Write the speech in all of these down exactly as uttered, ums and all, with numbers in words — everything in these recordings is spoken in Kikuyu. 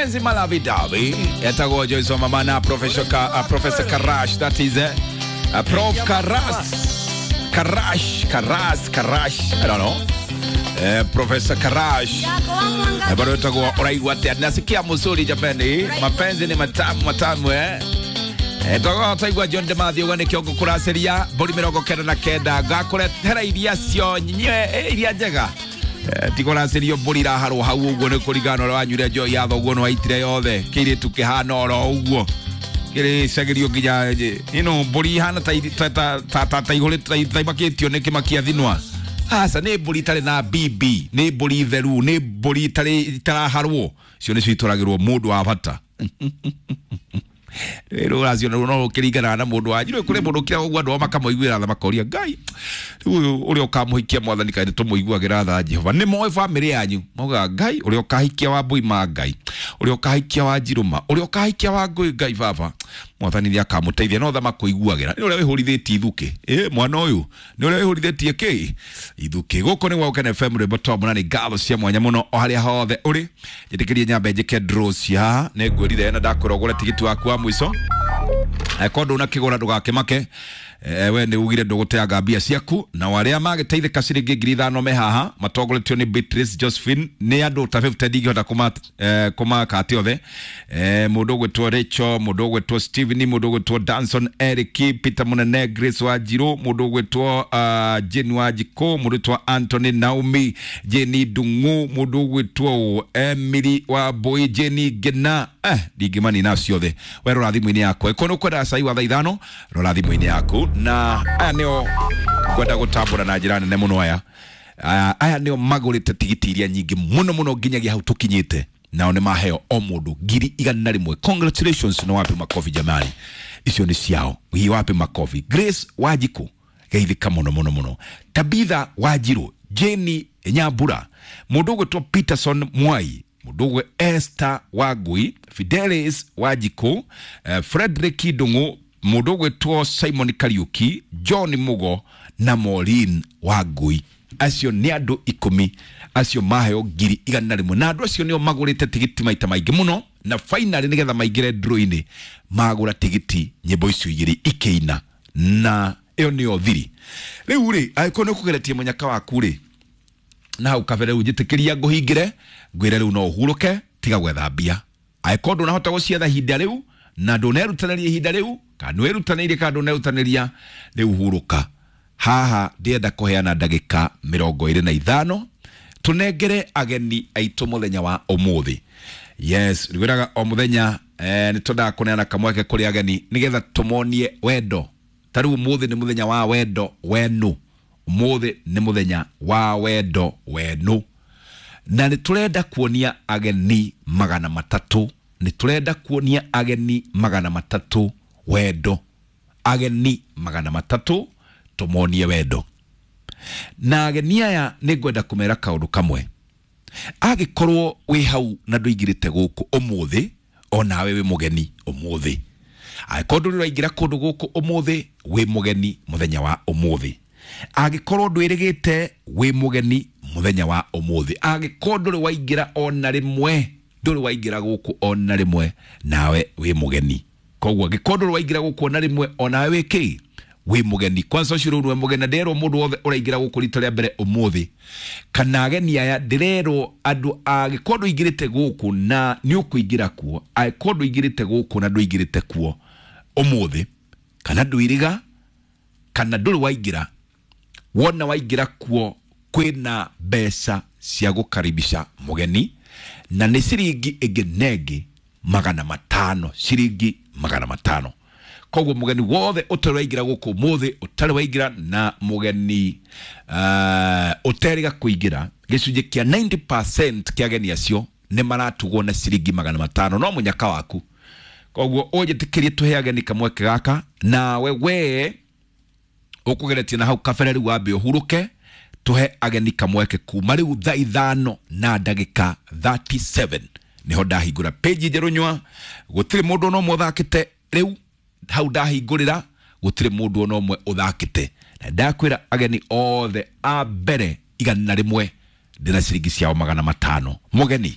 Mapenzi malavi davi etagwo Joyce Mama na Professor Ka, uh, Professor Karash, that is eh, uh, Prof Karas Karash Karas Karash, I don't know, eh, Professor Karash. Eh, bado etagwo uraigua atia? Nasikia mzuri jamani, mapenzi ni matamu matamu eh. Etagwo taigua John de Mathew gwa nikio ngukuraciria mburi mirongo kenda na kenda ngakũretera iria cio nywe iria njega. Eh, tikũracirio mbũri iraharwo hau ũguo nĩ kũringana na ũrĩa wanyuire njohi ya thoguo nĩ waitire yothe kĩirĩtu kĩhana oro ũguo kĩrĩcagĩrio nginya ĩno mbũri ihana ta ta ta ta ta ihũrĩte ta imakĩtio nĩ kĩmakia thinwa. Aca nĩ mbũri itarĩ na bibi, nĩ mbũri theru, nĩ mbũri itarĩ itaraharwo, cio nĩcio itwaragĩrwo mũndũ wa bata. Rĩu ũraciona no ũkĩringanaga na mũndũ wanyu. Rĩu kũrĩ mũndũ ũkĩraga ũguo andũ ao makamũiguĩra tha makoria Ngai rĩu ũyũ ũrĩa ũkamũhikia mwathani kaĩ nĩtũmũiguagĩra tha Jehova. Nĩ moĩ bamĩrĩ yanyu maugaga Ngai ũrĩa ũkahikia wa Mbui ma Ngai, ũrĩa ũkahikia wa Njirũma, ũrĩa ũkahikia wa Ngũĩ Ngai baba mwathani nĩ akamũteithia. No tha makũiguagĩra nĩ ũrĩa wĩhũrithĩtie ithukĩ, ĩ mwana ũyũ nĩ ũrĩa wĩhũrithĩtie kĩ ithukĩ. Gũkũ nĩ gwa Gũkena F M rwĩmbo twa mũnani ngatho cia mwanya mũno o harĩa hothe ũrĩ. Njĩtĩkĩrie nyambe njĩke draw cia nĩ ngwĩrire na ndakwĩra ũgũre tigiti waku wa mũico. Angĩkorwo ndũnakĩgũra ndũgakĩmake, eh, we nĩ ugire ndũgũteanga mbia ciaku. Na arĩa magĩteithĩka ciringi ngiri ithano me haha matongoretio nĩ Beatrice Josephine, nĩ andũ ta fifty ndingĩhota kũma eh, kũmaka othe. Eh, mũndũ ũgwĩtwo Rachel, mũndũ ũgwĩtwo Steven, mũndũ ũgwĩtwo Danson Eric, Peter Munene, Grace Wanjiru, mũndũ ũgwĩtwo uh, Jane Wanjikũ, mũndũ ũgwĩtwo Anthony Naomi, Jenny Ndung'u, mũndũ ũgwĩtwo Emily Wambui, Jenny Ngena, eh ndingĩmanina ciothe. We rora thimũ-inĩ yaku, angĩkorwo nĩ ũkwenda cai wa thaa ithano rora thimũ-inĩ yaku. Na aya nĩo ngwenda gũtambũra na njĩra nene mũno. Aya aya aya nĩo magũrĩte tigiti iria nyingĩ mũno mũno nginyagia hau tũkinyĩte, nao nĩ maheo o mũndũ ngiri igana rĩmwe. Congratulations, na wapi makofi jamani, icio nĩ ciao. Hii wapi makofi. Grace Wanjikũ geithĩka mũno mũno mũno. Tabitha Wanjiru, Jenny Nyambura, mũndũ ũgwĩtwo Peterson Mwai, mũndũ ũgwe Esther Wangui, Fidelis Wanjikũ, eh, Frederick Ndung'u, mũndũ ũgwĩtwo Simon Kariuki, John Mugo na Maureen Wangui. Acio nĩ andũ ikũmi acio maheo ngiri igana rĩmwe, na andũ acio nĩo magũrĩte tigiti maita maingĩ mũno, na finally nĩgetha maingĩre draw-inĩ magũra tigiti nyĩmbo icio igĩrĩ ikĩina, na ĩyo nĩyo thiri. Rĩu rĩ, angĩkorwo nĩ ũkũgeretie mũnyaka waku rĩ na hau kabere, rĩu njĩtĩkĩria ngũhingĩre ngwĩre rĩu no ũhurũke, tiga gwetha mbia. Angĩkorwo ndũnahota gũcietha ihinda rĩu na ndũnerutanĩria ihinda rĩu, kana nĩwĩrutanĩirie kana ndũnerutanĩria, rĩu hurũka. Haha ndĩrenda kũheana ndagĩka mĩrongo ĩrĩ na ithano tũnengere ageni aitũ mũthenya wa ũmũthĩ. Yes, ngwĩraga o mũthenya eh, nĩ twendaga kũneana kamweke kũrĩ ageni nĩgetha tũmonie wendo. Ta rĩu ũmũthĩ nĩ mũthenya wa wendo wenu, ũmũthĩ nĩ mũthenya wa wendo wenu, na nĩ tũrenda kuonia ageni magana matatũ, nĩ tũrenda kuonia ageni magana matatũ wendo, ageni magana matatũ tũmonie wendo. Na ageni aya nĩ ngwenda kũmera kaũndũ kamwe. Angĩkorwo wĩ hau na ndũingĩrĩte gũkũ ũmũthĩ, onawe wĩ mũgeni ũmũthĩ. Angĩkorwo ndũrĩ ũraingĩra kũndũ gũkũ ũmũthĩ, wĩ mũgeni mũthenya wa ũmũthĩ. Angĩkorwo ndwĩrĩgĩte, wĩ mũgeni mũthenya wa ũmũthĩ. Angĩkorwo ndũrĩ waingĩra ona rĩmwe, ndũrĩ waingĩra gũkũ ona rĩmwe, nawe wĩ mũgeni. Koguo angĩkorwo ndũrĩ waingĩra gũkũ ona rĩmwe, onawe wĩ kĩ? Wĩ mũgeni. Kwanza ũcio rĩu nĩwe mũgeni, na nderwo mũndũ wothe ũraingĩra gũkũ rita rĩa mbere ũmũthĩ, kana ageni aya ndĩrerwo andũ angĩkorwo ndũingĩrĩte gũkũ na nĩ ũkũingĩra kuo, angĩkorwo ndũingĩrĩte gũkũ na ndũingĩrĩte kuo ũmũthĩ, kana ndwĩrĩga, kana ndũrĩ waingĩra, wona waingĩra kuo kwĩna mbeca cia gũkaribisha mũgeni, na nĩ ciringi ĩngĩ na ĩngĩ magana matano, ciringi magana matano. Koguo mũgeni wothe ũtarĩ waingĩra gũkũ ũmũthĩ, ũtarĩ waingĩra na mũgeni uh, ũterĩga kũingĩra, gĩcunjĩ kĩa ninety percent kĩa ageni acio nĩ maratugwo na ciringi magana matano, no mũnyaka waku. Koguo ũnjĩtĩkĩrie tũhe ageni kamweke gaka, nawe we ũkũgeretie na hau kabere rĩu wambe ũhurũke, tũhe ageni kamweke kuma rĩu thaa ithano na ndagĩka thirty seven nĩho ndahingũra page njerũ nyua. Gũtirĩ mũndũ ona ũmwe ũthakĩte rĩu hau ndahingũrĩra, gũtirĩ mũndũ ona ũmwe ũthakĩte, na ndakwĩra ageni othe a mbere igana rĩmwe ndĩna ciringi ciao magana matano. Mũgeni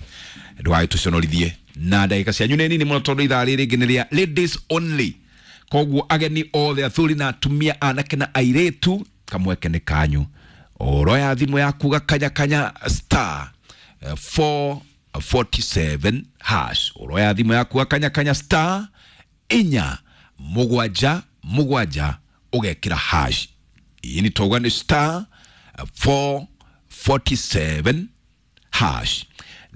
ndũgagĩtũconorithie, Na ndagĩka cianyu nĩ nini mũno tondũ ithaa rĩrĩ rĩngĩ nĩ rĩa ladies only. Koguo ageni othe, athuri na atumia, anake na airĩtu, kamweke nĩ kanyu. Oroya thimũ yaku gakanya kanya star eh, four forty-seven hash. Oroya thimũ yaku gakanya kanya star inya mũgwanja mũgwanja ũgekĩra hash. Iyi nĩ tauga nĩ star four forty-seven hash,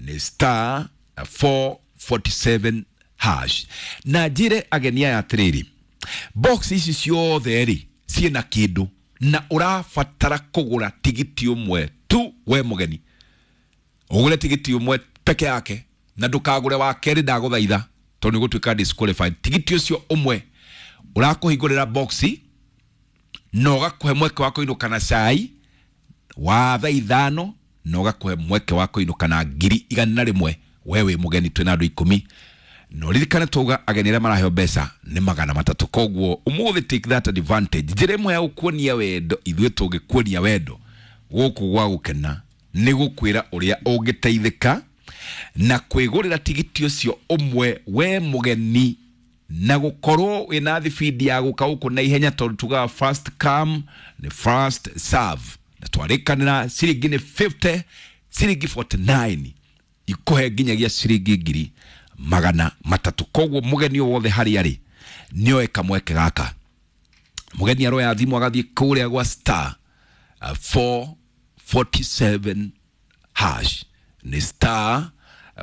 nĩ star four forty-seven hash. Na njĩre ageni aya atĩrĩrĩ, box ici ciothe rĩ ciĩna kĩndũ na ũrabatara kũgũra tigiti ũmwe tu. We mũgeni, ũgũre tigiti ũmwe peke yake na ndũkagũre wa kerĩ, ndagũthaitha, tondũ nĩ gũtuĩka disqualified. Tigiti ũcio ũmwe ũrakũhingũrĩra boxi na ũgakũhe mweke wa kũinũka na cai wa thaa ithano na ũgakũhe mweke wa kũinũka na ngiri igana rĩmwe. We wĩ mũgeni, twĩna andũ ikũmi na ũririkane twauga ageni arĩa maraheo mbeca nĩ magana matatũ. Koguo ũmũthĩ take that advantage. Njĩra ĩmwe ya gũkuonia wendo, ithuĩ tũngĩkuonia wendo gũkũ gwa gũkena, nĩ gũkwĩra ũrĩa ũngĩteithĩka na kwĩgũrĩra tigiti ũcio ũmwe we mũgeni na gũkorwo wĩna thibindi ya gũka gũkũ na ihenya, tondũ tugaga first come nĩ first serve. Na twarĩkanĩra ciringi nĩ fifty, ciringi forty-nine ikũhe nginyagia ciringi ngiri magana matatũ. Koguo mũgeni o wothe harĩa arĩ nĩoe kamweke gaka. Mũgeni aroya thimũ agathiĩ kũrĩa gwa star uh, four forty-seven hash, nĩ star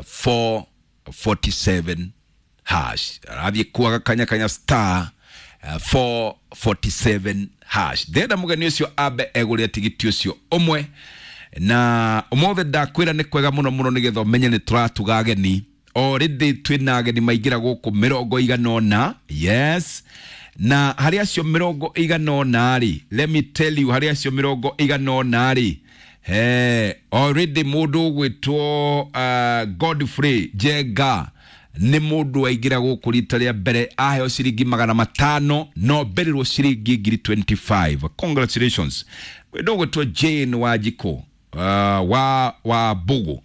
four forty-seven hash. Arathiĩ kuaga kanya kanya star uh, four forty-seven hash. Ndĩrenda mũgeni ũcio ambe egũrĩre tigiti ũcio ũmwe. Na ũmũthĩ ndakwĩra nĩ kwega mũno mũno nĩgetha ũmenye nĩ tũratuga ageni. Already twĩna ageni maingĩra gũkũ mĩrongo igana ũna. Yes, na harĩ acio mĩrongo igana ũna rĩ, let me tell you, harĩ acio mĩrongo igana ũna rĩ, he already mũndũ ũgwĩtwo uh, Godfrey Njenga, nĩ mũndũ waingĩra gũkũ rita rĩa mbere, aheo ciringi magana matano no mberirwo ciringi ngiri mĩrongo ĩrĩ na ithano. Congratulations. Mũndũ ũgwĩtwo Jane Wanjikũ uh, wa wa Mbugu,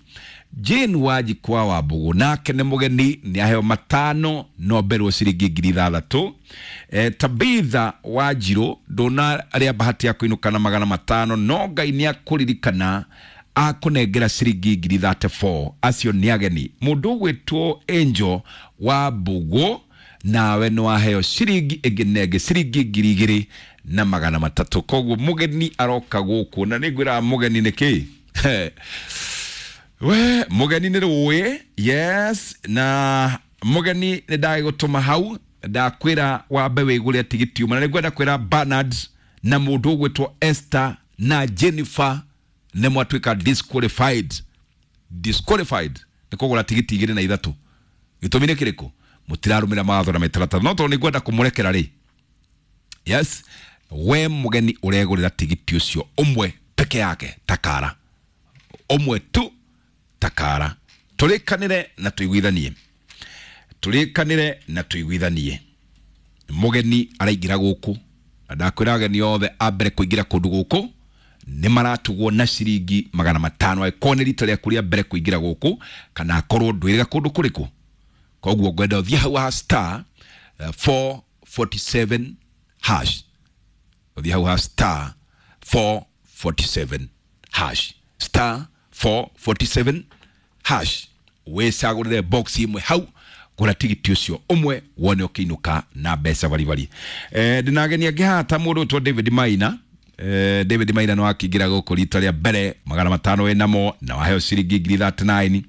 Jane Wanjikũ wa Wambugu, nake nĩ mũgeni, nĩ aheo matano no mberirwo ciringi ngiri ithathatũ. eh, Tabitha Wanjirũ, ndũnarĩa bahati ya kũinũka na magana matano, no Ngai nĩ akũririkana akũnengera ciringi ngiri thirty-four. Acio nĩ ageni. Mũndũ ũgwĩtwo Angel wa Mbugu, nawe nĩ waheo ciringi ĩngĩ nenge ciringi ngiri igĩrĩ na magana matatũ. Koguo mũgeni aroka gũkũ na nĩ ngwĩraga mũgeni nĩ kĩ we mũgeni nĩ rũĩ. Yes, na mũgeni nĩ ndagĩgũtũma hau, ndakwĩra wambe wĩgũre tigiti ũmwe. Na nĩ ngwenda kwĩra Bernard na mũndũ ũgwĩtwo Esther na Jennifer nĩ mwatuĩka disqualified. Disqualified nĩ kũgũra tigiti igĩrĩ na ithatũ. Gĩtũmi nĩ kĩrĩkũ? Mũtirarũmĩra mawatho na mĩtaratara. No tondũ nĩ ngwenda kũmũrekera rĩ, yes, we mũgeni ũregũrĩra tigiti ũcio ũmwe peke yake, takara ũmwe tu, takara. Tũrĩkanĩre na tũiguithanie, tũrĩkanĩre na tũiguithanie. Mũgeni araingĩra gũkũ na ndakwĩra ageni othe a mbere kũingĩra kũndũ gũkũ nĩ maratugwo na ciringi magana matano, angĩkorwo nĩ rita rĩaku rĩa mbere kũingĩra gũkũ kana akorwo ndwĩrĩga kũndũ kũrĩkũ. Koguo ngwenda ũthiĩ hau ha star eh, four forty-seven hash, ũthiĩ hau ha star four forty-seven hash, star four forty-seven hash, wĩcagũrĩre box ĩmwe hau, gũra tigiti ũcio ũmwe wone ũkĩinũka na mbeca baribari. eh, ndĩna ageni angĩ haha ta mũndũ ũtwo David Maina. eh, David Maina nĩ wakĩingĩra gũkũ rita rĩa mbere, magana matano wĩnamo na waheo ciringi ngiri thirty-nine.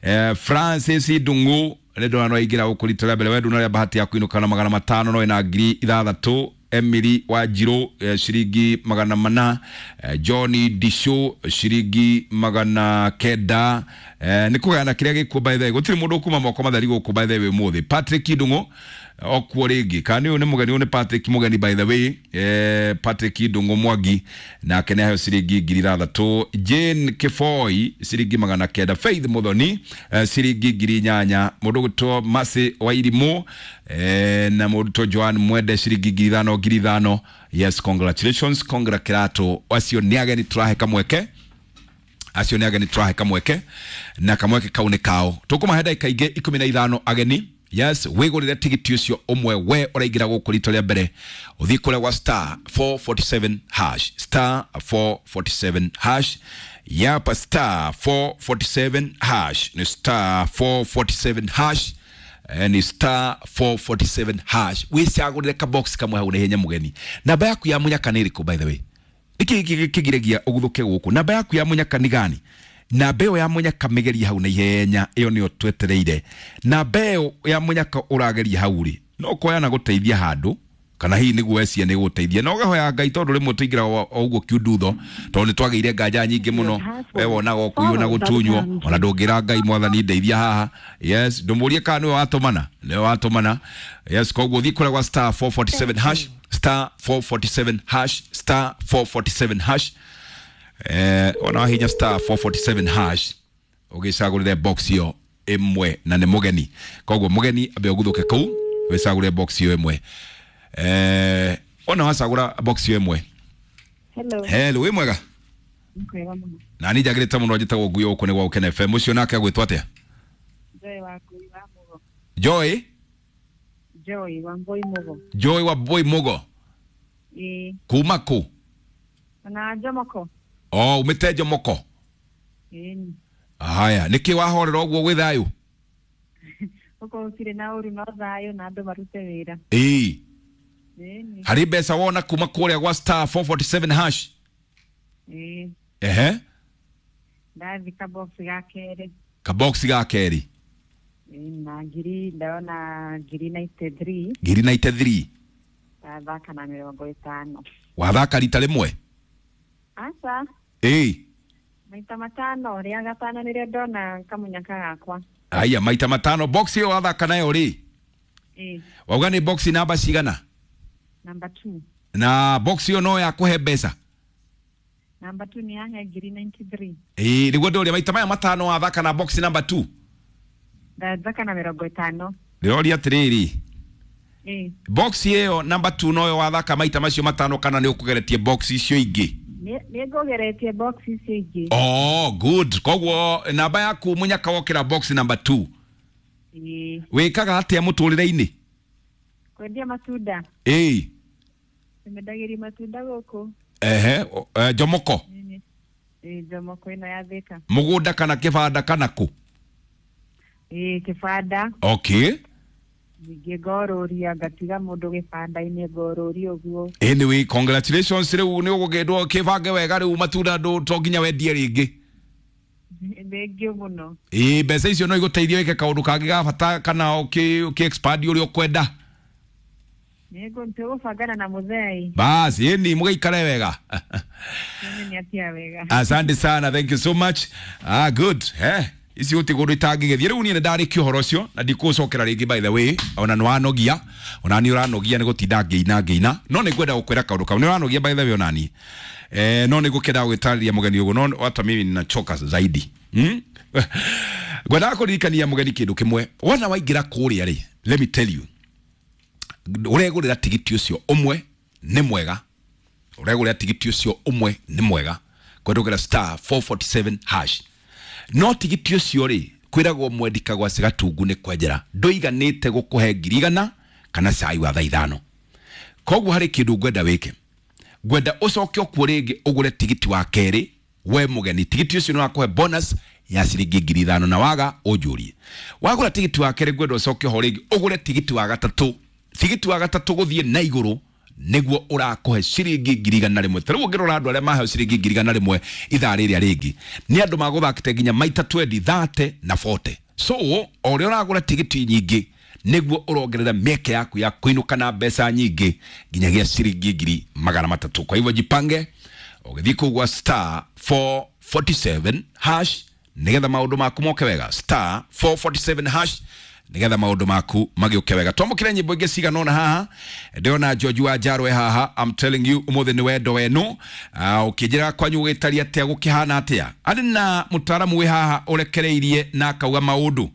eh, Francis Ndung'u nĩ ndona no aingĩra gũkũ rita rĩa mbere, we ndunarĩa bahati ya kũinũka na magana matano no wĩna ngiri ithathatũ. Emily Wanjiru, eh, ciringi magana mana. eh, Johnny Disho, ciringi magana kenda. eh, nĩ kũgayana kĩrĩa gĩkuo. By the way, gũtirĩ mũndũ ũkuma moko matheri gũkũ by the way ũmũthĩ. Patrick Ndung'u okuo rĩngĩ, kana nĩ ũyũ nĩ mũgeni? Ũyũ nĩ Patrick mũgeni by the way. eh, Patrick Ndung'u Mwangi nake nĩ aheo ciringi ngiri ithathatũ. Jane Kĩboi, ciringi magana kenda. Faith Muthoni, eh, ciringi ngiri inyanya. Mũndũ ũgwĩtwo Mercy Wairimũ eh, na mũndũ ũgwĩtwo Joan Mwende, ciringi ngiri ithano, ngiri ithano. Yes, congratulations, congra kĩratũ. Acio nĩ ageni tũrahe kamweke. Acio nĩ ageni tũrahe kamweke na kamweke kau nĩ kao. Tũkũmahe ndagĩka ingĩ ikũmi na ithano ageni. Yes, wĩgũrĩre tigiti ũcio ũmwe we ũraingĩra gũkũ rita rĩa mbere, ũthiĩ kũrĩa gwa star four forty-seven hash, star four forty-seven hash, yapa star four forty-seven hash, ni star four forty-seven hash, eh, ni star four forty-seven hash. Wĩcagũrĩre kabox kamwe hau na ihenya mũgeni. Namba yaku ya mũnyaka nĩ ĩrĩkũ by the way? Nĩkĩ kĩgiragia ũguthũke gũkũ? Namba yaku ya mũnyaka nĩ gani? Namba ĩyo ya mũnyaka mĩgerie hau na ihenya, ĩyo nĩyo twetereire. Namba ĩyo ya mũnyaka ũrageria hau rĩ, no koya na gũteithia handũ, kana hihi nĩguo wecia nĩ gũteithia. Na ũgahoya Ngai tondũ rĩmwe tũingĩraga o ũguo kiundutho, tondũ nĩ twagĩire nganja nyingĩ mũno, we wonaga ũkũiywo na gũtunywo, ona ndũngĩra Ngai mwathani ndeithia haha. Yes, ndũmũrie kana nĩwe watũmana, nĩwe watũmana. Yes, koguo thiĩ kũrĩa gwa star four forty-seven hash, star four forty-seven hash, star four forty-seven hash. Eh, ona wahinya star four forty-seven hash ũgĩcagũrĩre box ĩyo ĩmwe na nĩ mũgeni. Koguo mũgeni ambe ũguthũke kũu wĩcagũre box ĩyo ĩmwe. Eh, ona wacagũra box ĩyo ĩmwe. Hello. Hello, wĩ mwega? Mwega mũno. Na niĩ njagĩrĩte mũno, njĩtagwo Ngui gũkũ nĩ gwa Gũkena F M. Ũcio nake agwĩtwo atĩa? Joy wa Ngui wa Mũgo. Joy? Joy wa Ngui Mũgo. Joy wa Ngui Mũgo. Ĩĩ. Kuma kũ? Na Jomoko. Oh, umĩte Jomoko? Ĩĩ. Haya, nĩkĩ wahorera ũguo gwĩ thayũ? Gũkũ gũtirĩ na ũru, no thayũ na andũ marute wĩra. Ĩĩ. Ĩĩ. Harĩ mbeca wona kuma kũrĩa gwa star four forty-seven hash? Ĩĩ. Ehe. Ndathi kabox ga kerĩ. Kabox ga kerĩ. Ĩĩ, na ngiri, ndona ngiri ninety-three. Ngiri ninety-three. Ndathaka na mĩrongo ĩtano. Wathaka rita rĩmwe? Aca. Ĩĩ. Maita matano, rĩa gatano nĩrĩo ndona kamunyaka gakwa. Aya, maita matano. Box ĩyo wathaka nayo rĩ? Ĩĩ. Wauga nĩ box namba cigana? Number two. Na box ĩyo no yakũhe mbeca? Number two nĩ yahe ngiri ninety-three. Ĩĩ, nĩguo ndũria maita maya matano wathaka na box number two? Ndathaka na mĩrongo ĩtano. Ndĩroria atĩrĩrĩ. Ĩĩ. Box ĩyo number two noyo wathaka maita macio matano kana nĩ ũkũgeretie box icio ingĩ? Nĩ ngũgeretie box icio ingĩ. Oh, good. Koguo namba yaku mũnyaka wokĩra box number two. Ĩĩ. Wĩkaga atĩa mũtũrĩre-inĩ? Kwendia matunda. Ĩĩ. Nĩmendagĩria matunda gũkũ. Ehe, Jomoko. Ĩĩ, Jomoko ĩno ya Thĩka. Mũgũnda kana kĩbanda kana kũ? Ĩĩ, kĩbanda. Okay. Ningĩ ngorũria ngatiga mũndũ gĩbanda-inĩ ngorũria ũguo. Anyway, congratulations rĩu nĩ ũgũkĩndwo kĩbange wega rĩu matunda ndũ to nginya wendie rĩngĩ. Thengiũ mũno. Ĩĩ, mbeca icio no igũteithie wĩke kaũndũ kangĩ ga bata kana ũkĩ ũkĩ expand ũrĩa ũkwenda. Nĩngũbangana na mũthei. Basi, ĩni mũgĩikare wega. Nĩ atia wega. Asante sana, thank you so much. Ah, good. Eh. Ici gũtirĩ kũndũ itangĩgĩthiĩ. Rĩu niĩ nĩ ndarĩkia ũhoro ũcio na ndikũcokera rĩngĩ by the way, ona nĩ wanogia, ona niĩ ũranogia nĩ gũtinda ngĩina ngĩina, no nĩ ngwenda gũkwĩra kaũndũ kau. Nĩ ũranogia by the way ona niĩ. Eh, no nĩ ngũkĩenda gũgĩtarĩria mũgeni ũguo, no hata mimi ninachoka zaidi. Hmm? Ngwendaga kũririkania mũgeni kĩndũ kĩmwe. Wona waingĩra kũrĩa rĩ, let me tell you. Ũregũrĩra tigiti ũcio ũmwe nĩ mwega. Ũregũrĩra tigiti ũcio ũmwe nĩ mwega. Kwendũkĩra star four forty-seven hash. No tigiti ũcio rĩ, kwĩragwo mwendika gwa Cigatungu nĩ kwenjera. Ndũiganĩte gũkũhe ngiri igana kana cai wa thaa ithano. Koguo harĩ kĩndũ ngwenda wĩke. Ngwenda ũcoke okuo rĩngĩ ũgũre tigiti wa kerĩ we mũgeni. Tigiti ũcio nĩ wakũhe bonus ya ciringi ngiri ithano na waga ũnjũrie. Wagũra tigiti wa kerĩ ngwenda ũcoke ho rĩngĩ ũgũre tigiti wa gatatũ. Tigiti wa gatatũ gũthiĩ na igũrũ nĩguo ũrakũhe ciringi ngiri igana rĩmwe. Ta rĩu ũngĩrora andũ arĩa maheo ciringi ngiri igana rĩmwe ithaa rĩrĩa rĩngĩ nĩ andũ magũthakĩte nginya maita twenty, thirty na forty. So o ũrĩa ũragũra tigiti nyingĩ nĩguo ũrongerera mĩeke yaku ya kũinũka na mbeca nyingĩ nginyagia ciringi ngiri magana matatũ. Kwa hivyo jipange ũgĩthiĩ kũu gwa star four forty-seven hash nĩgetha maũndũ maku moke wega. Star four forty-seven hash nigetha maundu maku magiuke wega. Twamukire nyimbo ingi cigana ona haha, ndĩrona George wa Njarwe haha. I'm telling you umuthi ni wendo wenu. Uh, ukinjira kwanyu gitaria atia gukihana atia. Ari na mutaramu wi haha urekereirie na akauga maundu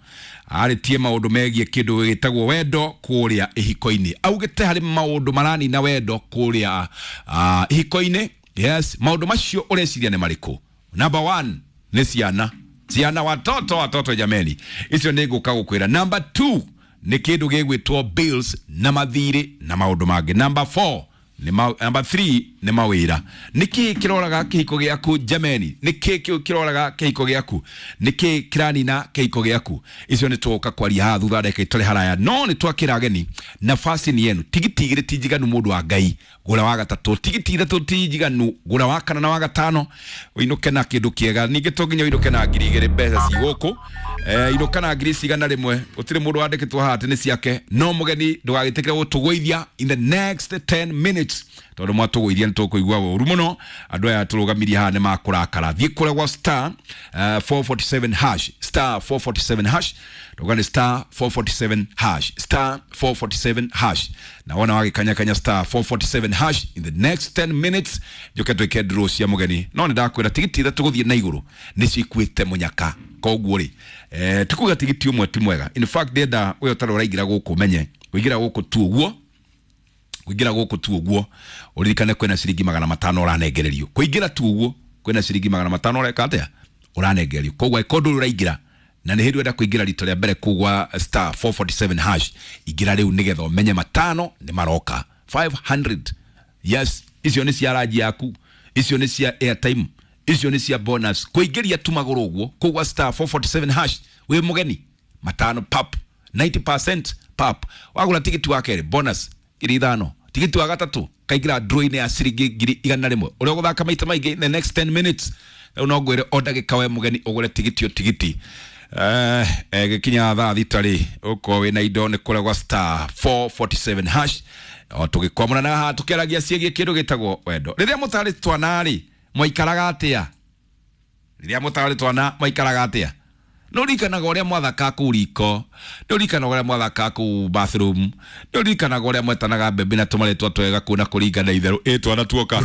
aritie maundu megie kindu gitagwo wendo kuria ihiko-ini. Augite hari maundu marani na wendo kuria uh, ihiko-ini. Yes, maundu macio ureciria ni mariku? Number one, Nĩ ciana, ciana, watoto, watoto jameni, icio nĩ ngũka gũkwĩra. Number two nĩ kĩndũ gĩgwĩtwo bills na mathirĩ na maũndũ mangĩ. Number four nĩ ma, number three nĩ mawĩra. Nĩ kĩĩ kĩroraga kĩhiko gĩaku jameni? Nĩ kĩĩ kĩu kĩroraga kĩhiko gĩaku? Nĩ kĩĩ kĩranina kĩhiko gĩaku? Icio nĩ tũgũka kwaria haha thutha ndagĩka itarĩ haraya, no nĩ twakĩra ageni. Nafasi ni yenu. Tigiti igĩrĩ ti njiganu, mũndũ wa Ngai, gũra wa gatatũ. Tigiti ithatũ ti njiganu, gũra wa kana na wa gatano, ũinũke na kĩndũ kĩega. Ningĩ to nginya ũinũke na ngiri igĩrĩ, mbeca ci gũkũ, eh, inũka na ngiri cigana rĩmwe. Gũtirĩ mũndũ wandĩkĩtwo haha atĩ nĩ ciake, no mũgeni ndũgagĩtĩkĩre gũtũgũithia in the next ten minutes, tondũ mwatũgũithia nĩ tũkũigua ũru mũno. Andũ aya tũrũgamirie haha nĩ makũrakara. Thiĩ kũrĩa gwa star uh, four forty-seven hash, star four forty-seven hash. Ndauga nĩ star four forty-seven hash, star four forty-seven hash. Na wona wagĩkanyakanya star four forty-seven hash in the next ten minutes, njoke twĩke draw cia mũgeni. No nĩ ndakwĩra tigiti ithatũ gũthiĩ na igũrũ nĩcio ikuĩte mũnyaka. Koguo rĩ, eh, tikuga tigiti ũmwe ti mwega. In fact, ndĩrenda ũyũ ũtarĩ ũraingĩra gũkũ menye kũingĩra gũkũ tu ũguo, kũingĩra gũkũ tu ũguo, ũririkane kwĩna ciringi magana matano ũranengererio. Kũingĩra tu ũguo kwĩna ciringi magana matano ũreka atĩa? Ũranengererio. Koguo angĩkorwo ndũrĩ ũraingĩra na nĩ hĩndĩ ũrenda kũingĩra rita rĩa mbere kũu gwa star four forty-seven hash, ingĩra rĩu nĩgetha ũmenye matano nĩ maroka. five hundred, yes, icio nĩ cia ranji yaku, icio nĩ cia airtime, icio nĩ cia bonus. Kũingĩria tu magũrũ ũguo kũu gwa star four forty-seven hash wĩ mũgeni, matano pap, ninety percent pap. Wagũra tigiti wa kerĩ, bonus ngiri ithano. Tigiti wa gatatũ kaingĩra draw-inĩ ya ciringi ngiri igana rĩmwe. Ũrĩa ũgũthaka maita maingĩ in the next ten minutes, rĩu no ngwĩre o ndagĩka we mũgeni ũgũre tigiti o tigiti. Eh, eh, gĩkinya thaa thita rĩ, ũkorwo wĩna indo nĩ kũrĩa gwa star four forty-seven hash. O tũgĩkwamũra na haha tũkĩaragia ciĩgiĩ kĩndũ gĩtagwo wendo. Rĩrĩa mũtarĩ twana rĩ, mwaikaraga atĩa? Rĩrĩa mũtarĩ twana mwaikaraga atĩa? Nĩ ũririkanaga ũrĩa mwathakaga kũu riko? Nĩ ũririkanaga ũrĩa mwathakaga kũu bathroom? Nĩ ũririkanaga ũrĩa mwetanaga mbembe na tũmarĩtwa twega kũu na kũringana itherũ ĩ twana tuoka?